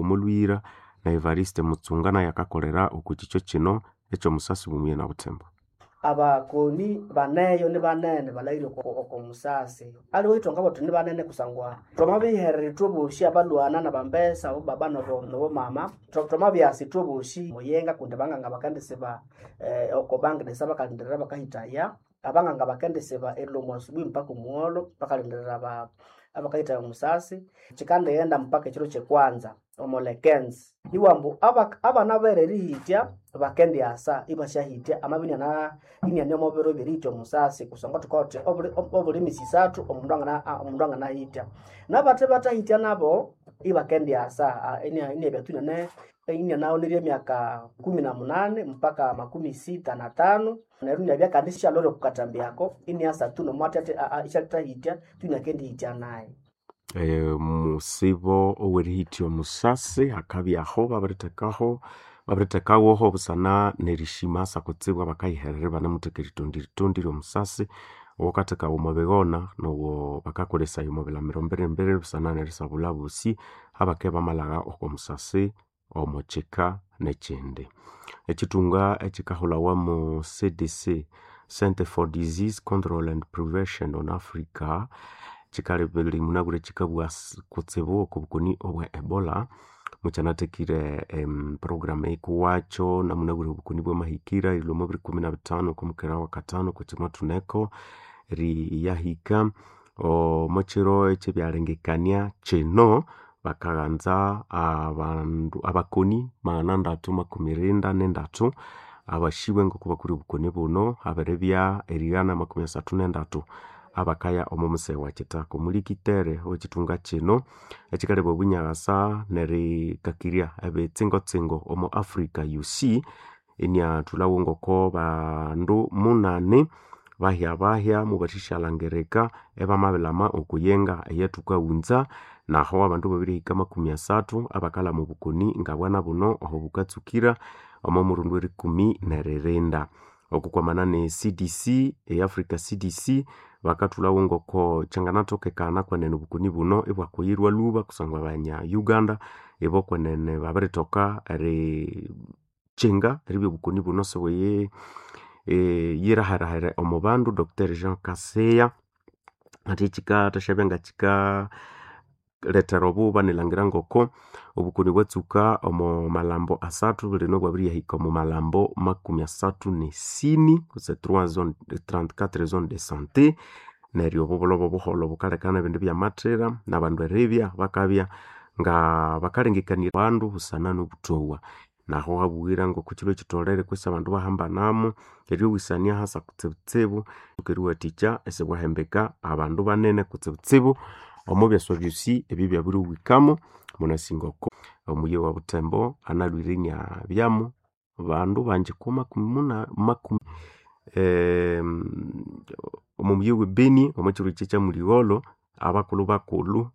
Omoluyira na Evariste Mutsunga naye akakolera oku kikyo kino eky'omusasi bumuye na Butembo. Abakoni baneyo ni banene balahire oko musasi aliwe ithonga boti ni banene kusangwa twamabiherera ithwe bosi abalwana nabambesa abobaba nobomama twamabyasa ithwe bosi muyenga kundi abanganga bakendisiba oko bangidesa bakalindirira bakahitaya abanganga bakendisiba erilwa asubuhi mpaka omugholo bakalindirira abakahitaya omusasi. Kikandighenda mpaka ekiro kyekwanza omulekenzi iwambu abana bere erihitya bakendiasa ibasyahitya amabya iniane omo biro byerihitya omusasi kusangwa thukawothi obuli misi isathu omundu anganahitya. Nabathe bathahitya nabo ibakendiasa inabya tu inianaghonirye emyaka 18 mpaka 65 neryo inabya kandi isyalholere okwa katambi ako iniasa tu nomwatha isyathahitya tu inakendihitya nayo. Musibo owerihitya omusasi hakabyaho babirithekaho babirithekawoho busana nerishima asa kutsibu abakayiherera ibanamutheka eritondi ritondi ryomusasi owakathekawa omo bighona nowo bakakolesaya omo bilamiro mbiri mbiri busana nerisabulha abosi abakibya bamalhagha oko musasi omo kika nekyindi. Ekyithunga ekyikahulhawa mu CDC, Center for Disease Control and Prevention on Africa, kyikalebere munabwire kyikabugha kutsibu oko bukoni obwa Ebola mukyanathekire program eyikuwakyo namunabwire obukoni bwamahikira erilhwa omo biri 15 okwamukera wakatano okwa thuneko eriyahika omo kiro ekyebyalengekania kino bakaghanza abandu abakoni 333 abashibwe ngoko bakuli obukoni buno habiribya erighana 33 abakaya omo museghe wa kitaka. Omulikitere owekithunga kino ekikaleba obunyaghasa nerikakirya ebitsingotsingo omo Africa UC iniathulhawo ngoko bandu 8 bahya-bahya mubathishalangirika ibamabilhama okuyenga eyathukawunza naho abandu babirihika 30 abakalhama obukoni ngabwana buno oho bukatsukira omo murundi werikumi neririnda. Okukwamana ne CDC e Africa CDC bakathulhawo ngoko kyanganathokekana kwenene obukoni buno ibwakuyirwa lhuba kusangwa abanya Uganda ibo kwenene babirithoka erikyinga eribya obukoni buno sibuyi yiraherahera omo bandu. Dr Jean Kaseya athi kyikathasyabya ngakyika lethera obuba nilhangira ngoko obukoni bwatsuka omo malhambo asathu bulino ibwabiriyahika omo malhambo 34 kutse 34 zone de santé neryo obo bulobo obuholho bukalekana ebindu byamathira nabandu eribya bakabya nga bakalengekania bandu busana nobuthowa. Naho habuyira ngoko kyilwe kyitholere kwisi abandu bahambanamo eryowisania hasa kutsibutsibu eriwathikya isibwahembeka abandu banene kutsibutsibu omo byaswa byosi ebibyabiriwikamo. Munasi ngoko omuyi wa Butembo analhwire iniabyamu bandu bangi ku makumi omo muyi we Beni omo kyiro kye kyamuligholho abakulhu bakulhu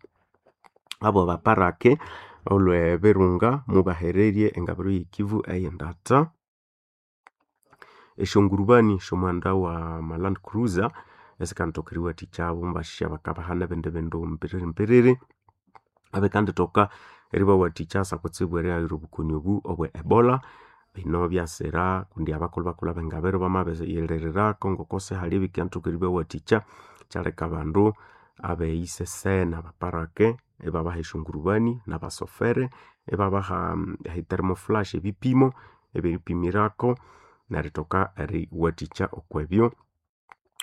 abo baparake olwe Birunga mubahererye engabiro ye Kivu eyendata. Esyongurubani syomughanda wa Land Cruiser esikanathoka eriwathikya mubasya bakabahana ebindi bindu mbiriri mbiriri abikandithoka eribawathikya asa kutsibu erighayira obukoni obu obwe Ebola. Bino byasira kundi abakulhu bakulhu abengabiro bamabiriyirirako ngoko sihali ebikanathoka eribawathikya kyaleka abandu abeyisesene abaparake ibabaha esyongurubani nabasofere ibabaha thermoflash ebipimo ebyeripimirako nerithoka eriwathikya okwebyo.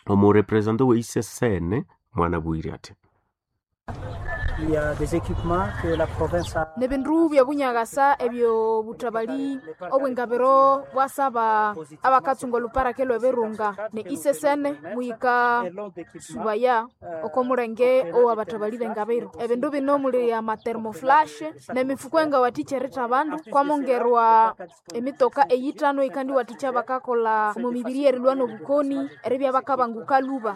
Omurepresenta owe ICCN mwanabughere athi Nebindu byobunyaghasa ebyobuthabali obwengabiro bwasaba abakatsunga oluparake lwebirunga ne ICCN muhika subaya oko mulenge owabathabali bengabiro. Ebindu bino muli ama thermoflash nemifuko engawathikya eritha abandu kwamongerwa emitoka eyithano eyikandiwathikya abakakolha omo mibiri erilhwa nobukoni eribya bakabanguka lhuba.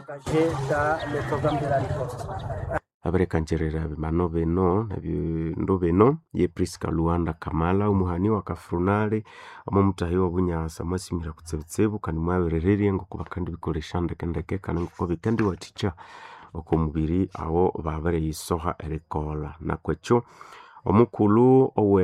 Abirikangyirira ebimano bino nebindu bino ye Prisca Luanda Kamala omuhani wa Kafrunali omo muthahi wobunyasa mwasimira kutsibutsibu kandi mwabirirerye ngoko bakandibikolesya ndekendeke kandi ngoko bikandiwathikya oko mubiri awo babiriyisoha erikolha nakwekyo omukulhu owe.